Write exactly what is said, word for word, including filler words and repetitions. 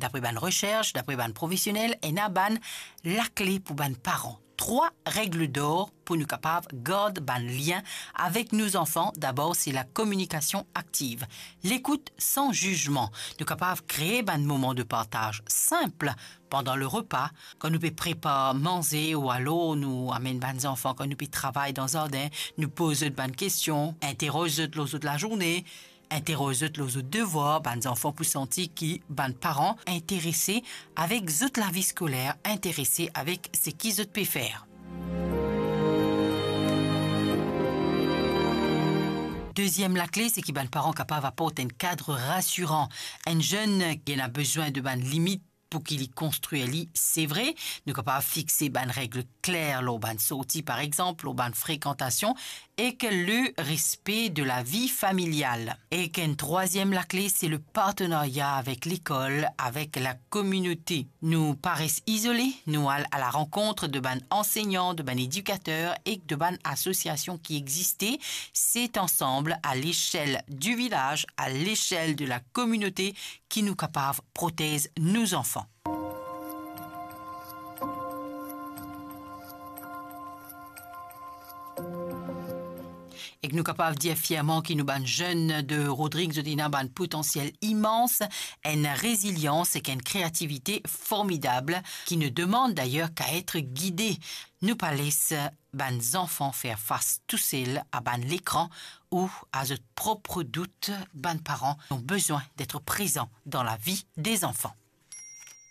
Dapre bann resers, dapre bann profesionel, ena bann lakle pou bann paran. Trwa règle d'or pou nou kapav gard bann lien avek nou zanfan. Dabor, se la kominikasion aktiv. Lekout san zizman. Nou kapav kree bann moman de partaz sinp pandan le repa, kan nou pe prepar manze ou alor nou amenn bann zanfan, kan nou pe travay dan zardin, nou poz zot bann kestion, interoz zot lor zot lazourne, interoz zot lor zot devwar. Bann zanfan pou santi ki bann paran interese avek zot lavi skoler, interese avek seki zot pe fer. Deziem lakle, se ki bann paran kapav aport enn kad rasiran. Enn zenn ki ena bezwin de bann limit pou ki li konstrir li, se vre. Nou kapav fixe bann règle kler lor bann sorti, par exanp, lor bann frekantasion, ek le respe de lavi familial. Ek enn trwaziem lakle, se le partenarya avek lekol, avek lakominote. Nou pa res izole, nou al a la rankont de bann ansegnan, de bann edikater ek de bann asosiasion ki existe. Se ansanm, a lexel di vilaz, a lexel de lakominote, ki nou kapav protez nou zanfan. Ek nou kapav dir fierman ki nou bann zenn de Rodrig, zot ena bann potansiel imans, enn rezilians ek enn kreativite formidab ki ne demann dayer k'a et gide. Nou pa les bann zanfan fer fas tousel a bann lekran ou a zot prop dout. Bann paran ont bezwin d'etre prezan dan lavi de zanfan.